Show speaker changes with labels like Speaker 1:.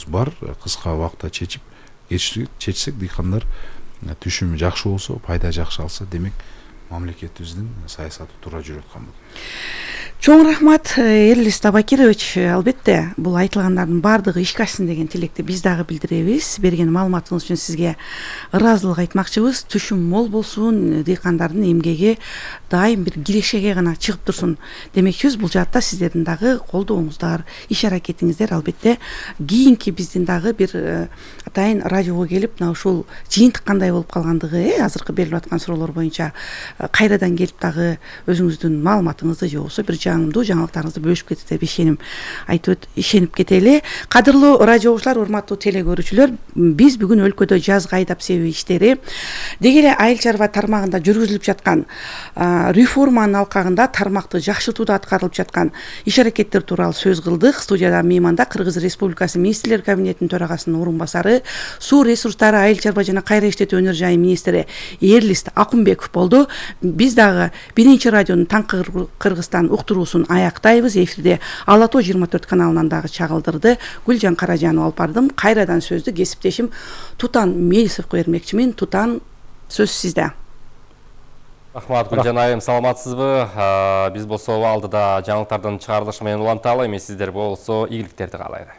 Speaker 1: бар, кыска убакытта чечсек дыйкандар түшүмү жакшы болсо, пайда жакшы алса, демек мамлекетибиздин саясаты туура жүрүп аткан болот.
Speaker 2: Чоң рахмат, Эрлис Табакирович. Албетте, бул айтылгандардын баардыгы ишке ашсын деген тилекти биз дагы билдиребиз. Берген маалыматыңыз үчүн сизге ыраазылык айтмакчыбыз. Түшүм мол болсун, дыйкандардын эмгеги дайым бир кирешеге гана чыгып турсун демекчибиз. Бул жаатта сиздердин дагы колдооңуздар, иш аракетиңиздер албетте кийинки биздин дагы бир атайын радиого келип, мына ушул жыйынтык кандай болуп калгандыгы, азыркы берилип аткан суроолор боюнча кайрадан келип дагы өзүңүздүн маалыматыңызды же болбосо бир жаңымдуу жаңылыктарыңызды бөлүшүп кетесиз деп ишенип кетели. Кадырлуу радио угуучулар, урматтуу теле көрүүчүлөр, биз бүгүн өлкөдө жазгы айдап себүү иштери деги эле айыл чарба тармагында жүргүзүлүп жаткан реформанын алкагында тармакты жакшыртууда аткарылып жаткан иш аракеттер тууралуу сөз кылдык. Студияда мейманда Кыргыз Республикасы Министрлер кабинетинин төрагасынын орун басары, суу ресурстары, айыл чарба жана кайра иштетүү өнөр жайы министри Эрлис Акунбеков болду. Биз дагы биринчи радионун Таңкы Кыргызстан уктуруусун аяктайбыз. Эфирде Ала Тоо 24 каналынан дагы чагылдырды. Гүлжан Каражанова алып бардым. Кайрадан сөздү кесиптешим Тутан Мелисовго бермекчимин. Тутан, сөз сизде.
Speaker 3: Рахмат, Гүлжан айым, саламатсызбы? Биз болсо алдыда жаңылыктардын чыгарылышы менен уланталы, эми сиздер болсо ийгиликтерди каалайлы.